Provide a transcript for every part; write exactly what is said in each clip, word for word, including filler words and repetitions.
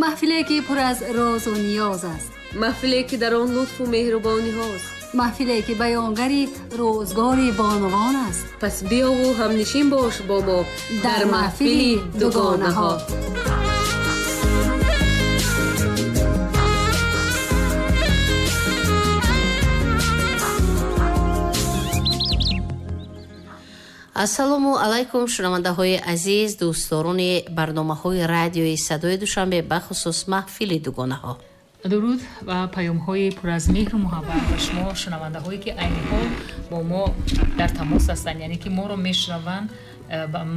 Маҳфиле ки пур аз розу ниёз аст. Маҳфиле ки дар он лутфу меҳрубонӣ ҳост. Маҳфиле ки баёнгари рӯзгори бонувон аст. Пас биёву ҳамнишин бош бо мо дар маҳфили дугонаҳо. Ассалому алайкум, шунавандаҳои азиз, дӯстдорони барномаҳои радиои Садои Душанбе, бахусус маҳфили дугонаҳо. Дуруд ва паёмҳои пур аз меҳру муҳаббат ба шумо шунавандаҳое ки айни ҳол бо мо дар тамос ҳастанд, яъне ки моро мешунаванд.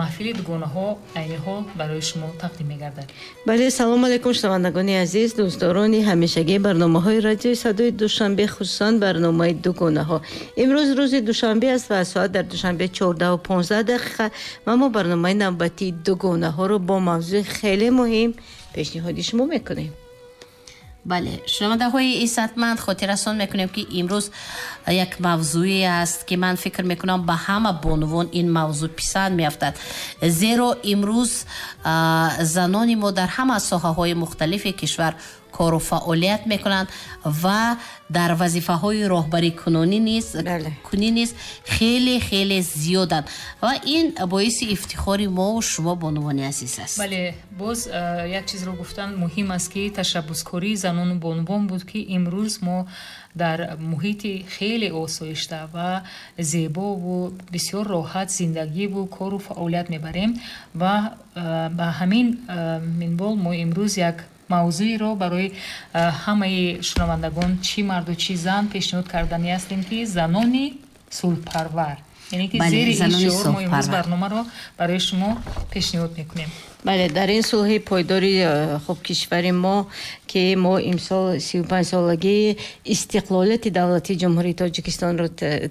Маҳфили дугонаҳо айни ҳол барои шумо тақдим мегардад. Бале, салому алайкум, шунавандагони азиз, дӯстдорони ҳамешагии барномаҳои радиои Садои Душанбе, хусусан барномаи дугонаҳо. Имрӯз рӯзи душанбе аст ва соат дар Душанбе чордаҳу понздаҳ дақиқа ва мо барномаи навбатии дугонаҳоро бо мавзӯи хеле муҳим пешниҳоди шумо мекунем. Бале, шунавандаҳои иззатманд, хотиррасон мекунем, ки имрӯз як мавзӯе аст, ки ман фикр мекунам ба ҳама бонувон ин мавзӯъ писанд меафтад, зеро имрӯз занони мо дар ҳама соҳаҳои мухталифи кишвар кору фаъолият мекунанд ва дар вазифаҳои роҳбарикунонӣ низ кунӣ низ хеле хеле зиёданд ва ин боиси ифтихори мову шумо бонувони азиз аст. Бале, боз як чизро гуфтан муҳим аст, ки ташаббускории занону бонувон буд, ки имрӯз мо дар муҳити хеле осоишта ва зебову бисёр роҳат зиндагиву кору фаъолият мебарем ва ба ҳамин минвол мо имрӯз як мавзӯеро барои ҳамаи шунавандагон, чӣ марду чӣ зан, пешниҳод кардани ҳастем, ки занони сулҳпарвар, яъне ки зери ин шиор мо имрӯз барномаро барои шумо пешниҳод мекунем. Бале, дар ин сулҳи пойдори хуб кишвари мо, ки мо имсол сию панҷсолагии истиқлолияти давлатии Ҷумҳурии Тоҷикистонро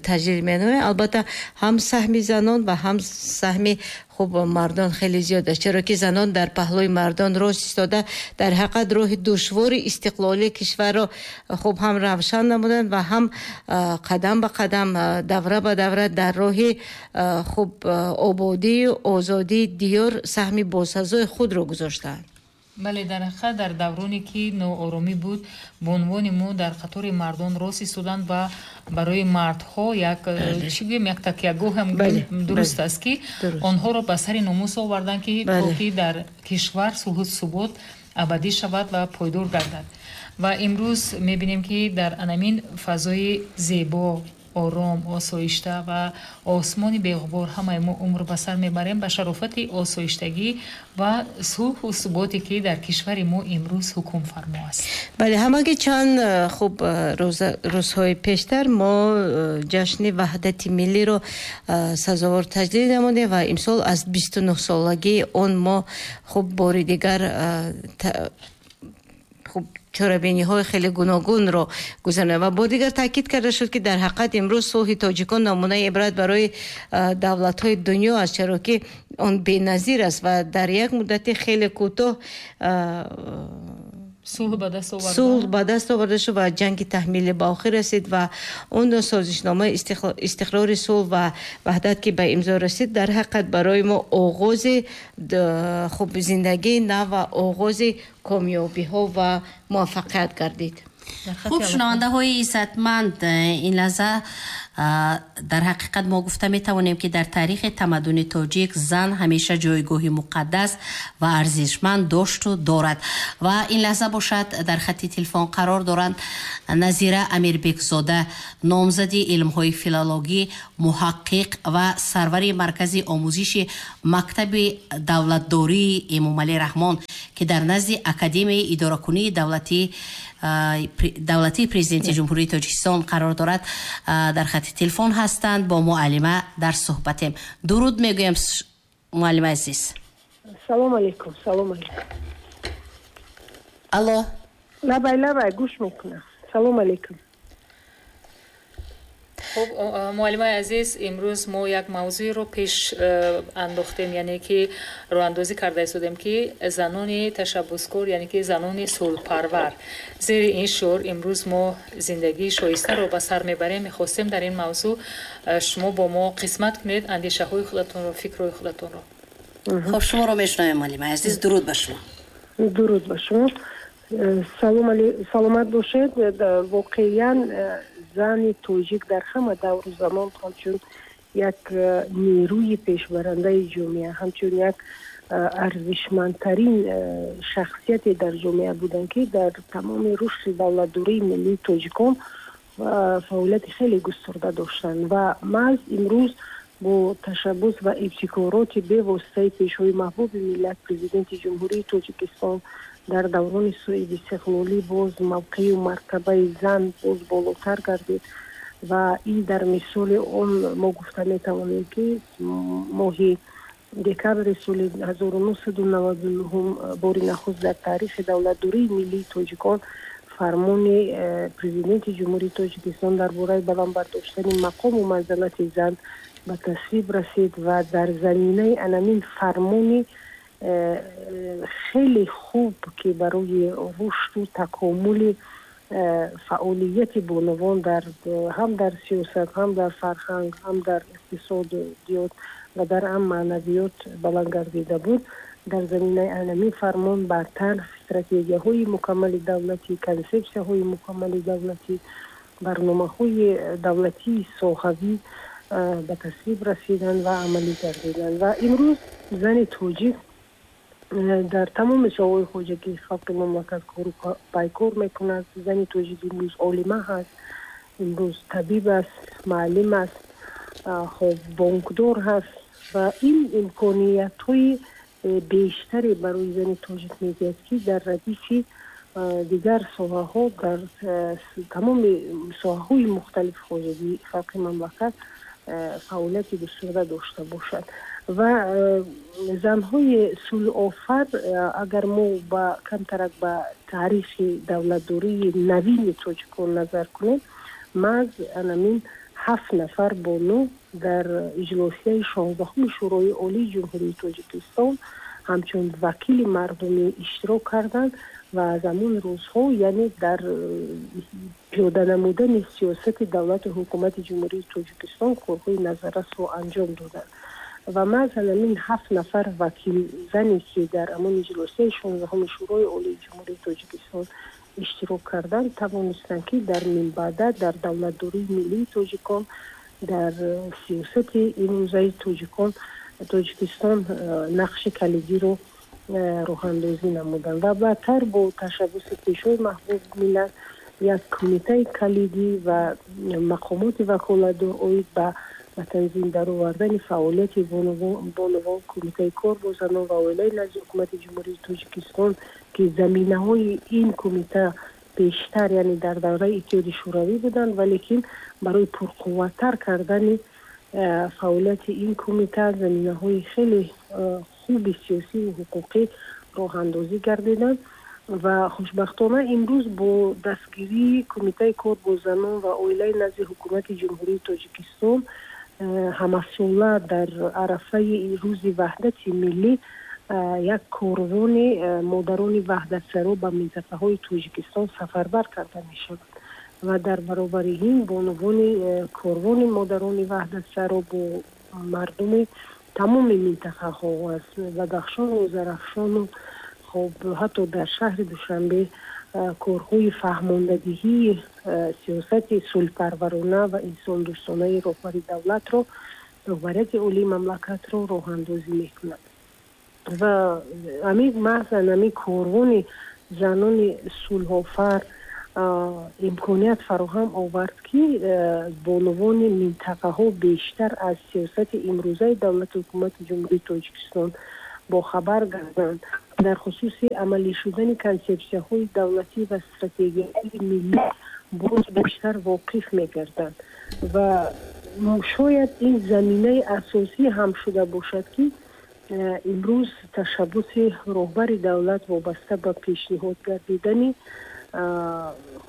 таҷлил менамоем, албатта ҳам саҳми занон ва ҳам саҳми хуб мардон хеле зиёд аст, чаро ки занон дар паҳлӯи мардон рост истода дар ҳақиқат роҳи душвори истиқлолии кишварро хуб ҳам равшан намуданд ва ҳам қадам ба қадам, давра ба давра дар роҳи хуб ободию озодии диёр саҳми босазои худро гузоштанд. Бале, дар ҳақиқат дар давроне ки нооромӣ буд, бонувони мо дар қатори мардон рост истоданд ва барои мардҳо як чӣ гӯем, як такягоҳ ҳам дуруст аст, ки онҳоро ба сари номус оварданд, ки то ки дар кишвар сулҳу субот абадӣ шавад ва пойдор гардад. Ва имрӯз мебинем, ки дар анамин фазои зебо, ором, осоишта ва осмони беғубор ҳамаи мо умр ба сар мебарем ба шарофати осоиштагӣ ва сулҳу суботе, ки дар кишвари мо имрӯз ҳукмфармо аст. Бале, ҳамагӣ чанд хуб рӯзҳои пештар мо ҷашни ваҳдати миллиро сазовор таҷлил намудем ва имсол аз бисту нӯҳсолагии он мо хуб бори дигар хуб чорабиниҳои хеле гуногунро гузаронем ва бо дигар таъкид карда шуд, ки дар ҳақиқат имрӯз сулҳи тоҷикон намунаи ибрат барои давлатҳои дунё аст, чаро ки он беназир аст ва дар як муддати хеле кӯтоҳ сулҳ ба даст оварда шуд ва ҷанги таҳмилӣ ба охир расид ва он созишномаи истиқрори сулҳ ва ваҳдат, ки ба имзо расид, дар ҳақиқат барои мо оғози хуб зиндагии нав ва оғози комёбиҳо ва муваффақият гардид. Хуб, шунавандаҳои иззатманд, ин лаҳза дар ҳақиқат мо гуфта метавонем, ки дар таърихи тамаддуни тоҷик зан ҳамеша ҷойгоҳи муқаддас ва арзишманд дошту дорад ва ин лаҳза бошад дар хати телефон қарор доранд Назира Амирбекзода, номзади илмҳои филологӣ, муҳаққиқ ва сарвари маркази омӯзиши мактаби давлатдории Эмомалӣ Раҳмон, ки дар назди Академияи идоракунии давлатӣ давлатии президенти Ҷумҳурии Тоҷикистон қарор дорад, дар хати телефон ҳастанд. Бо муаллима дар суҳбатем. Дуруд мегӯям, муаллима азиз. Салом алейкум, салом алейкум. Алло. Лабай, лабай, гӯш мекунам. Салом алейкум. Хуб, муаллимаи азиз, имрӯз мо як мавзӯеро пеш андохтем, яъне ки роҳандозӣ карда истодем, ки занони ташаббускор, яъне ки занони сулҳпарвар. Зери ин шиор имрӯз мо зиндагии шоистаро ба сар мебарем. Мехостем дар ин мавзӯъ шумо бо мо қисмат кунед андешаҳои худатонро, фикрҳои худатонро. Хуб, шуморо мешунавем, муаллимаи азиз. Дуруд ба шумо. Дуруд ба шумо. Салом, саломат бошед. Воқеан, зани тоҷик дар ҳама давру замон ҳамчун як нерӯи пешбарандаи ҷомеа, ҳамчун як арзишмандтарин шахсияте дар ҷомеа буданд, ки дар тамоми рушди давлатдории миллии тоҷикон фаъолияти хеле густурда доштанд. Ва маҳз имрӯз бо ташаббус ва ибтикороти бевоситаи Пешвои маҳбуби миллат, Президенти Ҷумҳурии Тоҷикистон, дар даврони соҳибистиқлолӣ боз мавқею мартабаи зан боз болотар гардид. Ва ин дар мисоли он мо гуфта метавонем, ки моҳи декабри соли ҳазору нӯҳсаду наваду нӯҳ бори нахуст дар таърихи давлатдории миллии тоҷикон фармони э, Президенти Ҷумҳурии Тоҷикистон дар бораи баланд бардоштани мақому манзалати зан ба тасвиб расид. Ва дар заминаи анамин фармони э, хеле хуб, ки барои рушду такомули э, фаъолияти бонувон дар ҳам дар сиёсат, ҳам дар фарҳанг, ҳам дар иқтисодиёт ва дар ҳам маънавиёт баланд гардида буд, дар заминаи анамин фармон баъдтар стратегияҳои мукаммали давлатӣ, консепсияҳои мукаммали давлатӣ, барномаҳои давлатии соҳавӣ ба тасвиб расиданд ва амалӣ гардиданд. Ва имрӯз зани тоҷик дар тамоми соҳаҳои хоҷагии халқи мамлакат кору пайкор мекунад. Зани тоҷик имрӯз олима ҳаст, имрӯз табиб аст, муаллим аст, хоб, бонкдор ҳаст. Ва ин имкониятҳои бештаре барои зани тоҷик медиҳад, ки дар радифи дигар соҳаҳо, дар тамоми соҳаҳои мухталифи хоҷагии халқи мамлакат фаъолияти густурда дошта бошад. Ва занҳои сулҳофар, агар мо ба камтарак ба таърихи давлатдории навини тоҷикон назар кунем, маҳз анамин ҳафт нафар бону дар иҷлосияи шонздаҳуми Шӯрои Олии Ҷумҳурии Тоҷикистон ҳамчун вакили мардумӣ иштирок карданд ва аз ҳамон рӯзҳо, яъне дар пиёда намудани сиёсати давлату ҳукумати Ҷумҳурии Тоҷикистон корҳои назаррасро анҷом доданд. Ва маҳз ҳамин ҳафт нафар вакилзане, ки дар ҳамон иҷлосияи шонздаҳуми Шӯрои Олии Ҷумҳурии Тоҷикистон иштирок карданд, тавонистанд, ки дар минбаъда дар давлатдории миллии тоҷикон, дар сиёсати имрӯзаи тоҷикон, Тоҷикистон нақши калидиро роҳандозӣ намуданд. Ва баъдтар бо ташаббуси Пешвои маҳбуб миллат як кумитаи калидӣ ва мақомоти ваколатдор оид ба ба танзим даровардани фаъолияти бонувон, Кумитаи кор бо занон ва оилаи назди Ҳукумати Ҷумҳурии Тоҷикистон, ки заминаҳои ин кумита бештар, яъне дар давраи Иттиҳоди Шӯравӣ буданд, валекин барои пурқувваттар кардани э, фаъолияти ин кумита заминаҳои хеле э, хуби сиёсиву ҳуқуқӣ роҳандозӣ гардиданд. Ва хушбахтона имрӯз бо дастгирии Кумитаи кор бо занон ва оилаи назди Ҳукумати Ҷумҳурии Тоҷикистон э, ҳамасола дар арафаи Рӯзи ваҳдати миллӣ як корвони модарони ваҳдатсаро ба минтақаҳои Тоҷикистон сафарбар карда мешавад. Ва дар баробари ин бонувони корвони модарони ваҳдатсаро бо мардуми тамоми минтақаҳо аз Бадахшону Зарафшону, хоб, ҳатто дар шаҳри Душанбе корҳои фаҳмондадиҳии сиёсати сулҳпарварона ва инсондӯстонаи роҳбари давлатро, роҳбарияти олии мамлакатро роҳандозӣ мекунад. Ва ами маҳзан ами корвони занони сулҳофар имконият фароҳам овард, ки бонувони минтақаҳо бештар аз сиёсати имрӯзаи давлату ҳукумати Ҷумҳурии Тоҷикистон бохабар гарданд, дар хусуси амалӣ шудани консепсияҳои давлатӣ ва стратегияҳои миллӣ боз бештар воқиф мегарданд. Ва шояд ин заминаи асосӣ ҳам шуда бошад, ки имрӯз ташаббуси роҳбари давлат вобаста ба пешниҳод гардидани,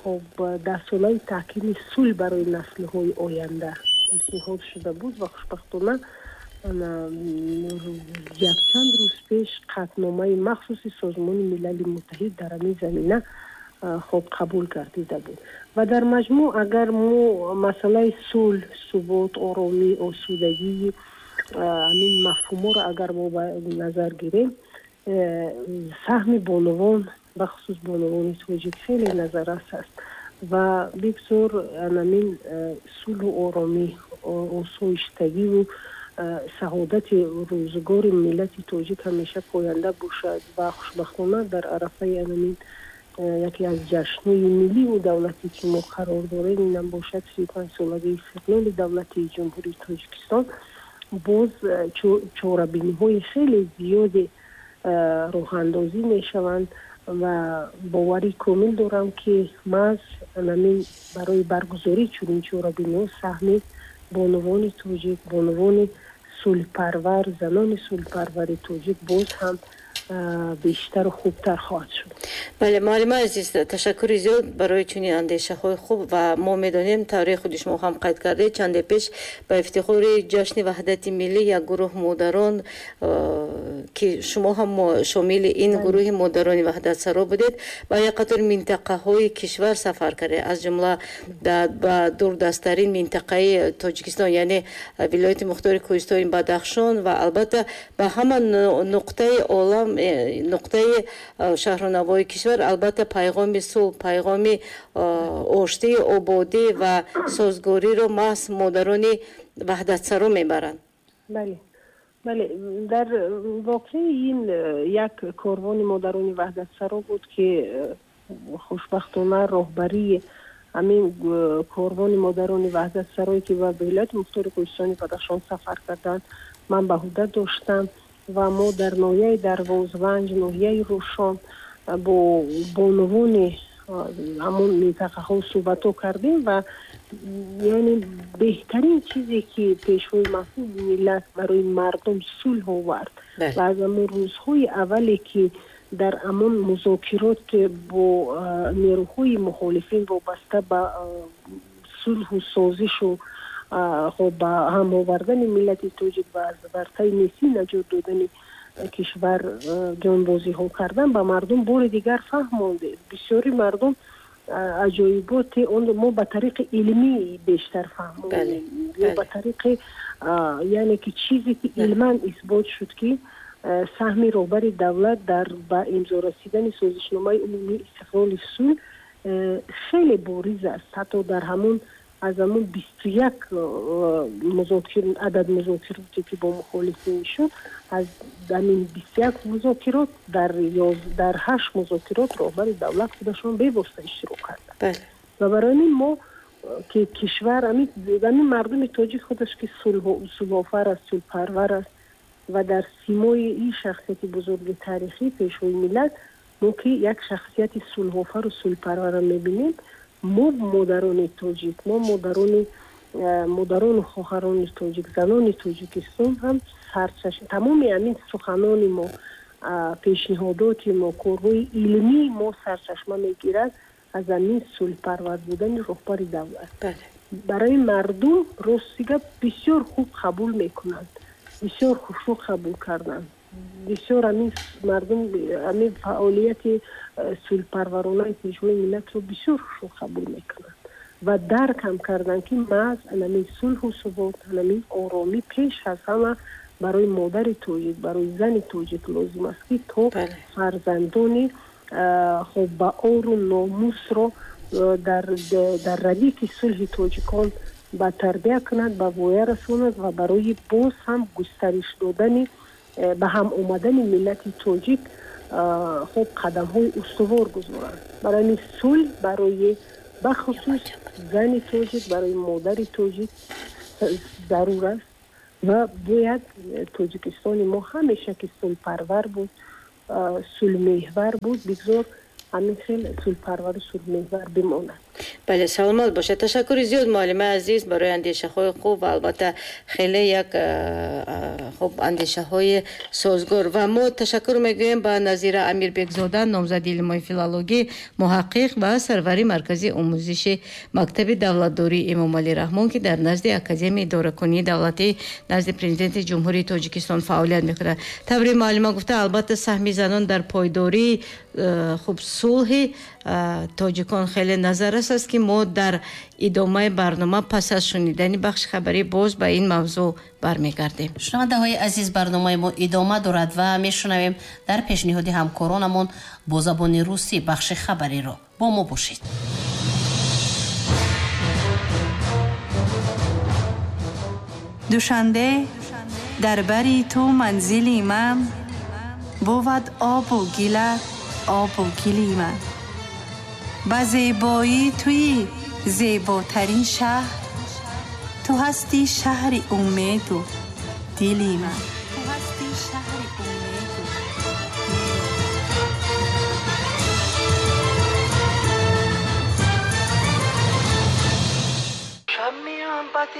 хоб, Даҳсолаи таҳкими сулҳ барои наслҳои оянда пешниҳод шуда буд. Ва хушбахтона якчанд рӯз пеш қатъномаи махсуси Созмони Милали Муттаҳид дар ҳамин замина, хоб, қабул гардида буд. Ва дар маҷмӯъ, агар мо масъалаи сулҳ, субот, оромӣ, осудагии ҳамин мафҳумҳоро агар мо ба назар гирем, Саҳми бонувон, бахусус бонувони тоҷик, хеле назаррас аст ва бигзор анамин сулҳу оромӣ, осоиштагиву саодати рӯзгори миллати тоҷик ҳамеша поянда бошад. Ва хушбахтона дар арафаи анамин яке аз ҷашнҳои милливу давлатӣ, ки мо қарор дорем, инам бошад сию панҷ солагии истиқлоли давлатии Ҷумҳурии Тоҷикистон, боз чорабиниҳои хеле зиёде роҳандозӣ мешаванд ва боварӣ комил дорам, ки маҳз анамин барои баргузории чунин чорабиниҳо саҳми бонувони тоҷик, бонувони сулҳпарвар, занони сулҳпарвари тоҷик боз ҳам бештару хубтар хоҳад шуд. Бале, муаллимаи азиз, ташаккури зиёд барои чунин андешаҳои хуб. Ва мо медонем, тавре худи шумо ҳам қайд кардед, чанде пеш ба ифтихори ҷашни ваҳдати миллӣ як гурӯҳ модарон, ки шумо ҳам шомили ин гурӯҳи модарони ваҳдатсаро будед, ба як қатор минтақаҳои кишвар сафар кардед, аз ҷумла ба дурдасттарин минтақаи Тоҷикистон, яъне вилояти мухтори кӯҳистони Бадахшон, ва албатта ба ҳама нуқтаи олам, нуқтаи шаҳру навои кишвар, албатта пайғоми сулҳ, пайғоми оштӣ, ободӣ ва созгориро маҳз модарони ваҳдатсаро мебаранд. Бале, бале, дар воқеъ ин як корвони модарони ваҳдатсаро буд, ки хушбахтона роҳбарии ҳамин корвони модарони ваҳдатсарое, ки ба вилояти мухтори кӯҳистони Бадахшон сафар карданд, ман ба ҳуда доштам ва мо дар ноҳияи Дарвозванҷ, ноҳияи Рӯшон бо бонувони ҳамон минтақаҳо суҳбатҳо кардем ва яъне беҳтарин чизе, ки пешвои маҳбуби миллат барои мардум сулҳ овард ва аз ҳамон рӯзҳои аввале, ки дар ҳамон музокирот бо нерӯҳои мухолифин вобаста ба сулҳу созишу хоб ба ҳам овардани миллати тоҷик ва аз вартаи несӣ наҷот додани кишвар ҷонбозиҳо кардан, ба мардум бори дигар фаҳмонде. Бисёри мардум аҷоиботи он мо ба тариқи илмӣ бештар фаҳмондем, ё ба тариқи, яъне ки чизе, ки илман исбот шуд, ки саҳми роҳбари давлат дар ба имзо расидани созишномаи умумии истиқлоли сулҳ хеле бориз аст. Ҳатто дар ҳамон аз ҳамон бисту як музокир адад музокироте, ки бо мухолифин шуд, аз ҳамин бисту як музокирот дар дар ҳашт музокирот роҳбари давлат худашон бевосита иштирок карданд. Ва барои ҳамин мо, ки кишвар, ҳамин мардуми тоҷик худаш, ки сулҳофар аст, сулҳпарвар аст ва дар симои ин шахсияти бузурги таърихӣ, пешвои миллат, мо ки як шахсияти сулҳофару сулҳпарварро мебинем, мо модарони тоҷик, мо модарони модарону хоҳарони тоҷик, занони Тоҷикистон ҳам сарчашм тамоми ҳамин суханони мо, пешниҳодоти мо, корҳои илмии мо сарчашма мегирад аз ҳамин сулҳпарвар будани роҳбари давлат. Барои мардум рости гап бисёр хуб қабул мекунанд, бисёр хушрӯ қабул карданд. Бисёр ҳамин мардум ҳамин фаъолияти сулҳпарваронаи пешвои миллатро бисёр хушрӯ қабул мекунанд ва дарк ҳам карданд, ки маҳз ҳамин сулҳу субот, ҳамин оромӣ пеш аз ҳама барои модари тоҷик, барои зани тоҷик лозим аст, ки то фарзандони хоб ба ору номусро дар дар радифи сулҳи тоҷикон ба тарбия кунад, ба воя расонад ва барои боз ҳам густариш додани, ба ҳам омадани миллати тоҷик хоб қадамҳои устувор гузоранд. Барои ҳамин сулҳ барои бахусус зани тоҷик, барои модари тоҷик зарур аст ва бояд Тоҷикистони мо ҳамеша, ки сулҳпарвар буд, сулҳмеҳвар буд, бигзор ҳамин хел сулҳпарвару сулҳмеҳвар бимонад. Бале, саломат бошед. Ташаккури зиёд, муаллимаи азиз, барои андешаҳои хуб ва албатта хеле як хуб андешаҳои созгор. Ва мо ташаккур мегӯем ба Назира Амирбекзода, номзади илмҳои филологӣ, муҳаққиқ ва сарвари маркази омӯзиши мактаби давлатдории Эмомалӣ Раҳмон, ки дар назди Академияи идоракунии давлатӣ назди Президенти Ҷумҳурии Тоҷикистон фаъолият мекунад. Таври муаллима гуфта, албатта саҳми занон дар пойдории хуб сулҳи тоҷикон хеле назаррас аст. ки мо дар идомаи барнома пас аз шунидани бахши хабарӣ боз ба ин мавзӯъ бармегардем. Шунавандаҳои азиз, барномаи мо идома дорад ва мешунавем дар пешниҳоди ҳамкоронамон бо забони русӣ бахши хабариро. Бо мо бошед. Душанбе дар бари ту манзили ман, бувад обу гилат обу гили ман. Ба зебоӣ туи зеботарин шаҳр, ту ҳастӣ шаҳри умеду дили ман.